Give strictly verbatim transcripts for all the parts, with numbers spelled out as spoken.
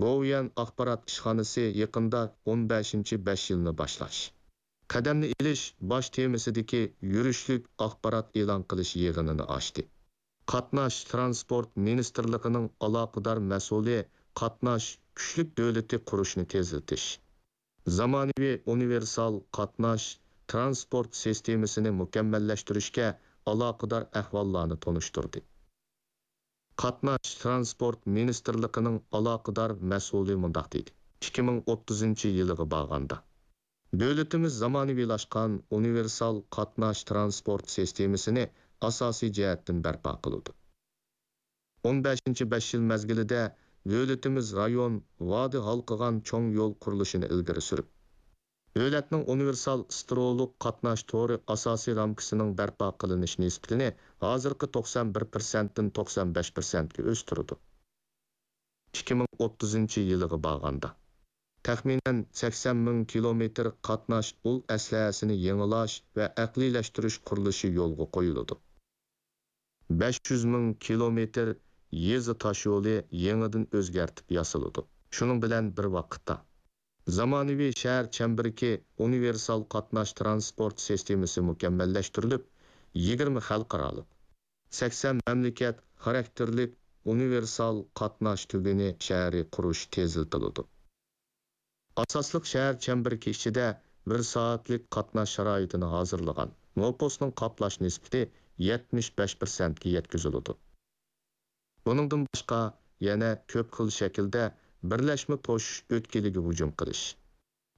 گوۋۇيۈەن ئاخبارات ئىشخانىسى يېقىندا ئون بەشىنچى بەش يىلنى باشلاش، قەدەمنى ئېلىش باش تېمىسىدىكى يۈرۈشلۈك ئاخبارات ئېلان قىلىش يىغىنىنى ئاچتى. قاتناش ترانسپورت مىنىستىرلىقىنىڭ ئالاقىدار مەسئۇلى قاتناش كۈچلۈك دۆلىتى قۇرۇشنى تېزلىتىش، زامانىۋى ئۇنىۋېرسال قاتناش ترانسپورت سىستېمىسىنى مۇكەممەللەشتۈرۈشكە ئالاقىدار ئەھۋاللارنى تونۇشتۇردى. قاتناش ترانسپورت مىنىستىرلىقىنىڭ ئالاقىدار مەسئۇلى مۇنداق دېدى: ئىككى مىڭ ئوتتۇزىنچى يىلىغا بارغاندا، دۆلىتىمىز زامانىۋىلاشقان ئۇنىۋېرسال قاتناش ترانسپورت سىستېمىسىنى ئاساسىي جەھەتتىن بەرپا قىلىدۇ. ئون بەشىنچى بەش يىل مەزگىلىدە دۆلىتىمىز رايون، ۋادى ھالقىغان چوڭ يول قۇرۇلۇشىنى ئىلگىرى سۈرۈپ، دۆلەتنىڭ ئۇنىۋېرسال ستىرولۇق قاتناش تورى ئاساسىي رامكىسىنىڭ بەرپا قىلىنىش نىسبىتىنى ھازىرقى توقسان بىر پىرسەنتتىن توقسان بەش پىرسەنتكە ئۆستۈرىدۇ. ئىككى مىڭ ئوتتۇزىنچى يىلىغا بارغاندا، تەخمىنەن سەكسەن مىڭ كىلومېتىر قاتناش ئۇل ئەسلىھەسىنى يېڭىلاش ۋە ئەقلىيلەشتۈرۈش قۇرۇلۇشى يولغا قويۇلىدۇ. بەش يۈز مىڭ كىلومېتىر يېزا تاشيولى يېڭىدىن ئۆزگەرتىپ ياسىلىدۇ. شۇنىڭ بىلەن بىر ۋاقىتتا، زامانىۋى شەھەر چەمبىرىكى ئۇنىۋېرسال قاتناش ترانسپورت سىستېمىسى مۇكەممەللەشتۈرۈلۈپ، يىگىرمە خەلقئارالىق، سەكسەن مەملىكەت خاراكتېرلىك ئۇنىۋېرسال قاتناش تۈگۈنى شەھىرى قۇرۇش تېزلىتىلىدۇ. ئاساسلىق شەھەر چەمبىرىكى ئىچىدە بىر سائەتلىك قاتناش شارائىتىنى ھازىرلىغان نوپۇسنىڭ قاپلاش نىسبىتى يەتمىش بەش پىرسەنتكە يەتكۈزۈلىدۇ. بۇنىڭدىن باشقا، يەنە كۆپ خىل شەكىلدە بىرلەشمە توشۇش ئۆتكىلىگە ھۇجۇم قىلىش،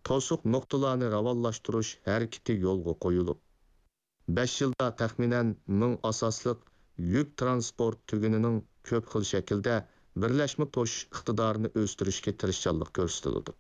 توسۇق نۇقتىلارنى راۋانلاشتۇرۇش ھەرىكىتى يولغا قويۇلۇپ، بەش يىلدا تەخمىنەن مىڭ ئاساسلىق يۈك ترانسپورت تۈگۈنىنىڭ كۆپ خىل شەكىلدە بىرلەشمە توشۇش ئىقتىدارىنى ئۆستۈرۈشكە تىرىشچانلىق كۆرسىتىلىدۇ.